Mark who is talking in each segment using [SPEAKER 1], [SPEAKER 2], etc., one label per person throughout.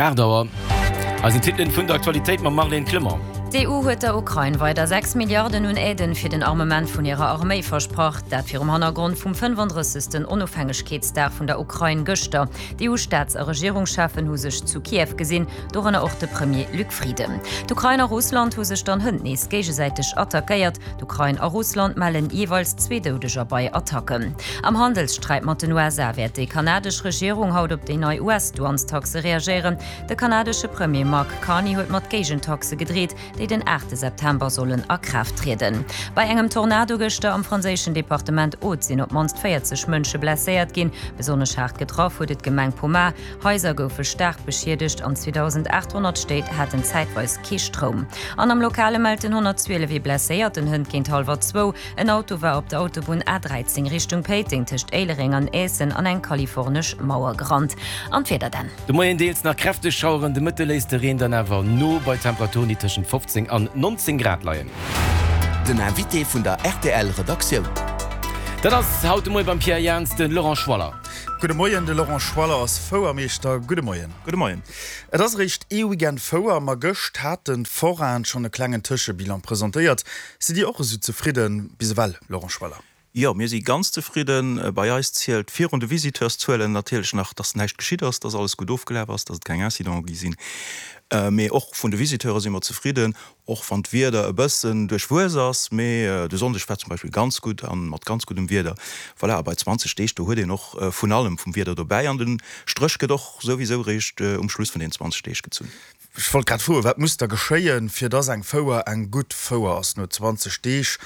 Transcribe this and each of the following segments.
[SPEAKER 1] 8 Auer, eisen Titelen vun der Aktualitéit mam Marlène Clement.
[SPEAKER 2] D'EU huet der Ukrain weider 6 Milliarden un Aiden fir den Armement vun hirer Arméi versprach. Dat virum Hannergrond vum 35. Onofhängegkeetsdag vun der Ukrain gëschter. D'EU-Staats a Regierungscheffen hu sech zu Kiew gesinn, dorënner och de Premier Luc Frieden. D'Ukrain a Russland hu sech dann hënt nees géigesäiteg attackéiert. D'Ukrain a Russland mellen jeeweils zwee Doudeger bei Attacken. Am Handelssträit mat den USA wäert déi kanadesch Regierung haut op déi nei US-Douanestaxe reagéieren. De kanadesche Premier Mark Carney huet mat Géigentaxe gedreet, déi den 8 September sollen a Kraaft trieden. Bei engem Tornado gëschter am franséischen Departement Aude sinn op d'mannst 40 Mënsche blesséiert ginn. Besonnesch haart getraff huet et d'Gemeng Pomat. Haiser goufe staark beschiedegt an 2.800 Stéit haten zäitweis kee Stroum. An am Lokale mellt den 112 ee Blesséierten hënt géint hallwer zwou. En Auto war op der Autobunn A13 Richtung Péiteng tëscht Éilereng an Aessen an eng kalifornesch Mauer gerannt. An d'Wieder dann?
[SPEAKER 1] De Moien deels nach kräfteg Schaueren, de Mëtte léisst de Reen dann awer no, bei Temperaturen déi tëschent 15 an 19 Grad leien.
[SPEAKER 3] Den Invité vun der rtl Redaktioun.
[SPEAKER 1] Dat ass haut de Moie beim Pierre Jans de Laurent Schwaller.
[SPEAKER 4] Gudde Moien, de Laurent Schwaller ass Fouermeeschter. Gudde Moien.
[SPEAKER 5] Gudde Moien.
[SPEAKER 4] Et ass eréischt ee Weekend Fouer, ma gëscht haten d'Forainen schonn e klengen Tëschebilan presentéiert. Sidd Dir och esou zefridde bis ewell, Laurent Schwaller?
[SPEAKER 5] Jo, mir si ganz zefridden. Bei eis zielt virun de Visiteurszuelen natierlech nach, dass näischt geschitt ass, dass alles gutt ofgelaf ass, dass et keng Incidenten gi sinn. Mee och vun de Visiteure si mer zefridden, och wann d'Wieder e bëssen duerchwuess ass. Mee de Sonndeg war zum Beispill ganz gutt a mat ganz guddem Wieder. Voilà, a bei 20 Deeg, do huet een och vun allem vum Wieder dobäi an de Stréch gëtt och souwisou eréischt um Schluss vun den 20 Deeg gezunn.
[SPEAKER 4] Ech wollt grad froen, wat muss da geschéien, fir dass eng Fouer eng gutt Fouer ass no 20 Deeg?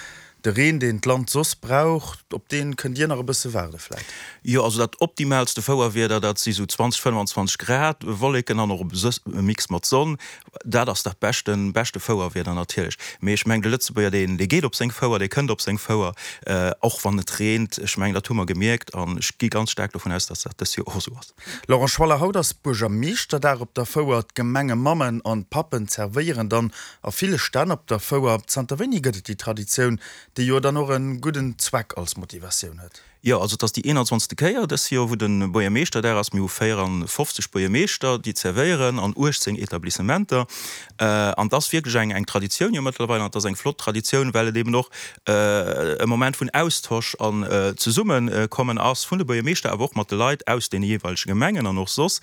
[SPEAKER 4] De Reen, deen d'Land soss brauch, op dee kënnt Dir nach e bësse waarde vläit?
[SPEAKER 5] Jo, also dat optimaalste Fouerwieder, dat si sou 20, 25 Grad, Wolleken an och e Mix mat Sonn. Dat ass dat beschten, beschte Fouerwieder natierlech. Mee ech mengen, de Lëtzebuerger, deen, dee geet op seng Fouer, dee kënnt op seng Fouer, och wann et reent. Ech mengen, dat hu mer gemierkt an ech gi ganz staark dovun aus, dass dat dës Joer och esou ass.
[SPEAKER 4] Laurent Schwaller, Haut ass Buergermeeschterdag op der Fouer. D'Gemengemammen an d'Pappen zerwéieren dann a ville Stänn op der Fouer. Zanter wéini gëtt et déi Traditioun, déi jo dann och e gudden Zweck als Motivatioun huet?
[SPEAKER 5] Jo, also et ass déi 21. Kéier dës Joer, wou de Buergermeeschterdag ass. Mir hu 54 Buergermeeschter, déi zerwéieren an 18 Etablissementer. An et ass wierklech eng eng Traditioun jo mëttlerweil an et ass eng flott Traditioun, well et eben och e Moment vun Austosch an Zesummekommen ass vun de Buergermeeschter, awer och mat de Leit aus deene jeeweilege Gemengen an och soss.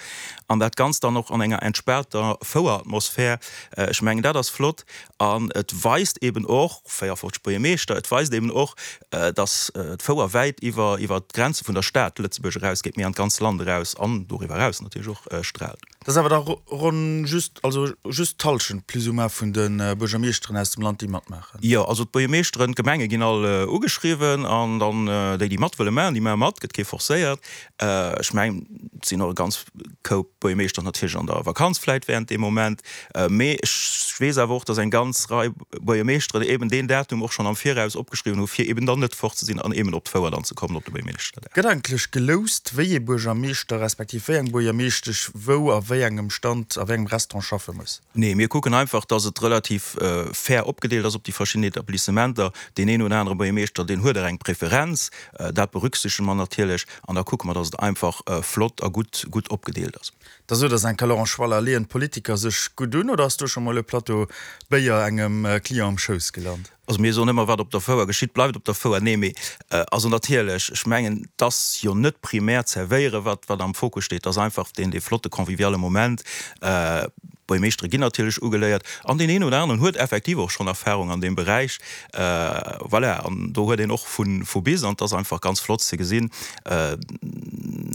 [SPEAKER 5] An dat Ganzt dann och an enger entspaanter Foueratmosphär. Ech mengen, dat ass flott an et weist eben och, 54 Buergermeeschter, et weist eben och, dass d'Fouer wäit iwwer iwwer d'Grenze vun der Stad Lëtzebuerg erausgeet, mee an d'ganz Land eraus an doriwwer eraus natierlech och straalt.
[SPEAKER 4] Dat ass awer da ronn just, also just d'Hallschent plus ou moins vun de Buergermeeschteren aus dem Land, déi matmaachen.
[SPEAKER 5] Jo, also d'Buergermeeschteren, d'Gemenge ginn all ugeschriwwen an dann déi, déi mat wëlle maachen, déi maache mat, gëtt kee forcéiert. Ech mengen, et sinn och e ganz Koup Buergermeeschter natierlech an der Vakanz vläit während deem Moment, mee ech weess awer och, datt eng ganz Rei Buergermeeschteren eben deen Datum och schonn am Viraus opgeschriwwen hu fir eben dann net fort ze sinn an eben op d'Fouer dann ze kommen op de Buergermeeschterdag.
[SPEAKER 4] Gëtt eigentlech geloust, wéi ee Buergermeeschter respektiv wéi eng Buergermeeschtesch wou a wéi engem Stand a wéi engem Restaurant schaffe muss?
[SPEAKER 5] Nee, mir kucken einfach, datt et relativ fair opgedeelt ass op déi verschidden Etablissementer. Deen een oder anere Buergermeeschter, deen huet och eng Preferenz, dat berücksichtege mer natierlech an da kucke mer, datt et einfach flott a gutt gutt opgedeelt ass.
[SPEAKER 4] Da sot ass enker Laurent Schwaller, Leeën d'Politiker sech gutt un oder ass do scho mol e Plateau Béier engem Client am Schouss gelant?
[SPEAKER 5] Also mir soen ëmmer, wat op der Fouer geschitt, bleift op der Fouer. Nee, mee also natierlech, ech mengen, et ass jo net primär d'Zerwéiere wat wat am Fokus steet, et ass einfach deen dee flotte conviviale Moment. D'Buergermeeschtere ginn natierlech ugeléiert an deen een oder aneren huet effektiv och schonn Erfahrung an deem Beräich. Voilà, an do huet een och vu vu bis an et ass einfach ganz flott ze gesinn.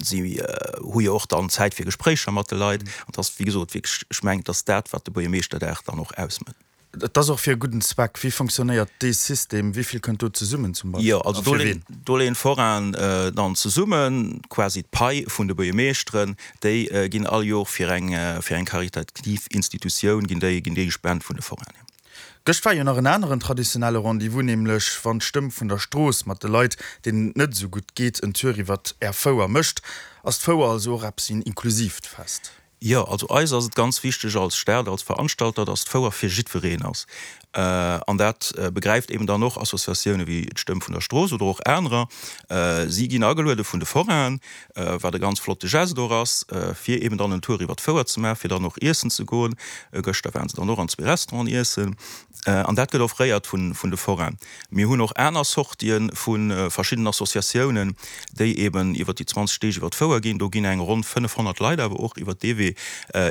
[SPEAKER 5] Si hu jo och dann Zäit fir Gespréicher mat de Leit an et ass, wéi gesot, wierklech, ech mengen, et ass dat, wat de Buergermeeschterdag dann och ausmécht.
[SPEAKER 4] Et ass och fir e gudden Zweck. Wéi fonctionnéiert dee System? Wéi vill kënnt do zesummen zum Beispill?
[SPEAKER 5] Jo, also do leeën, do leeën d'Forainen dann zesummen, quasi d'Pai vun de Buergermeeschteren, déi ginn all Jor fir eng, fir eng karitativ Institutioun ginn déi, ginn déi gespent vun de Forainen.
[SPEAKER 4] Gëscht war jo nach en aneren traditionelle Rendez-vous, nämlech wann d'Stëmm vun der Strooss mat de Leit, deenen et net esou gutt geet, en Tour iwwert Är Fouer mécht. Ass d'Fouer also och eppes wéi en inklusiivt Fest?
[SPEAKER 5] Jo, also eis ass et ganz wichteg als Stad, als Veranstalter, dass d'Fouer fir jiddwereen ass. An dat begräift eben dann och Associatioune wéi d'Stëmm vun der Strooss oder och anerer. Si ginn ageluede vun de Forainen, wat e ganz flotte Geste och ass, fir eben dann en Tour iwwer d'Fouer ze maachen, fir dann och iessen ze goen. Gëschter waren se dann och an zwee Restauranten iessen. An dat gëtt offréiert vun de Forainen. Mir hunn och aner Sortië vu verschiddenen Associatiounen, déi eben iwwer déi 20 Deeg iwwer d'Fouer ginn. Do ginn eng ronn 500 Leit awer och iwwer dee Wee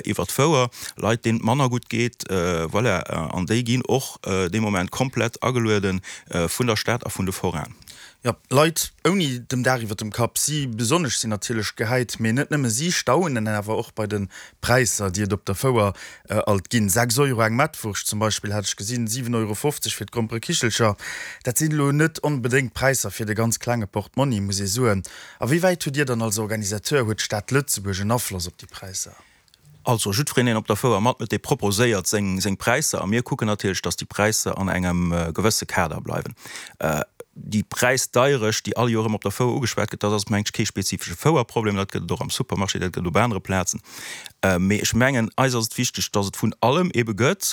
[SPEAKER 5] iwwer d'Fouer, Leit, deenen et manner gutt geet, voilà. An déi ginn och dee Moment komplett ageluede vun der Stad a vun de Forainen.
[SPEAKER 4] Jo, Leit ouni dem Daach iwwer dem Kapp, si besonnesch sinn natierlech gehäit, mee net nëmme si staunen awer och bei de Präisser, déi et op der Fouer alt ginn. 6 Euro eng Mettwurscht zum Beispill hat ech gesinn, 7,50 Euro fir d'Gromperekichelcher. Dat sinn elo net onbedéngt Präisser fir de ganz klenge Portmonni, muss ee soen. A wéi wäit hutt Dir dann als Organisateur, huet d'Stad Lëtzebuerg en Afloss op déi Präisser?
[SPEAKER 5] Also jiddwereen, deen op der Fouer matmëtt, dee proposéiert seng seng Präisser a mir kucken natierlech, datt déi Präisser an engem gewësse Kader bleiwen. Déi Präisdeierecht, déi all Joer erëm op der Fouer ugeschwat gëtt, dat ass, mengt ech, kee spezifesche Fouerproblem. Dat gëtt et och am Supermarché, dat gëtt et op anere Plazen. Mee ech mengen, eis ass et wichteg, datt et vun allem ebe gëtt.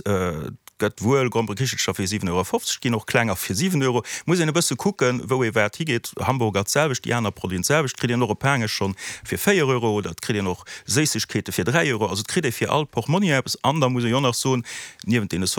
[SPEAKER 5] Gëtt wuel Gromperekichelcher fir 7,50 Euro, ginn och klenger fir 7 Euro. Muss een e bësse kucken, wou ee wat higeet. Hamburger d'selwecht, déi aner Produiten d'selwecht. Kritt een och e Paangesch schonn fir 4 Euro oder et kritt een och Séissegkeete fir 3 Euro. Also et kritt ee fir all Portmonni eppes. An da muss ee jo nach soen, niewent deene.